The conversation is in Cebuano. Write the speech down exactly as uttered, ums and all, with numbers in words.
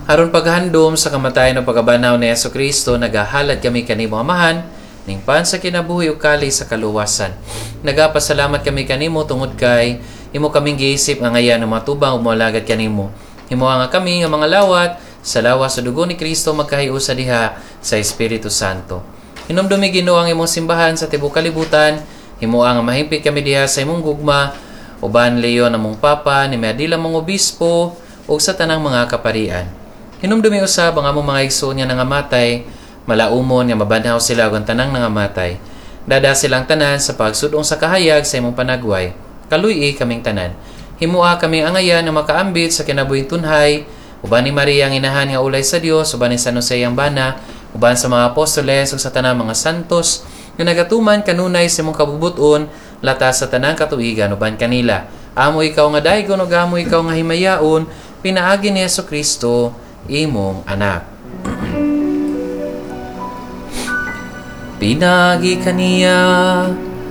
Aron paghandom sa kamatayon ug pagkabanhaw ni Hesus Kristo, nagahalad kami kanimo, Amahan, ning pan sa kinabuhi ug kalis sa kaluwasan. Nagapasalamat kami kanimo tungod kay imo kaming giisip nga angayan nga matubang ug moalagad kanimo. Himoa nga kami nga mga lawat sa lawas sa dugo ni Kristo magkahiusa diha sa Espiritu Santo. Hinumdumi, Ginoo, ang imong simbahan sa tibuok kalibutan, himoa nga mahimpit kami diha sa imong gugma uban Leon among Papa, ni Miadila mong obispo ug sa tanang mga kaparian. Hinumdumi usab ang among mga igsoon nga nangamatay, malaumon nga mabanhaw sila ug ang tanang nangamatay. Dada silang tanan sa pagsudong sa kahayag sa imong panagway. Kaluy-i kaming tanan. Himoa kami angayan nga makaambit sa kinabuhing tunhay, uban ni Maria ang inahan nga ulay sa Dios, uban ni San Jose ang bana, uban sa mga apostoles ug sa tanang mga santos nga nagatuman kanunay sa imong kabubut-on latas sa tanang katuigan uban kanila. Amo ikaw nga daygon ug amo ikaw nga himayaon pinaagi ni Hesus Kristo imong anak. Pinaagi kaniya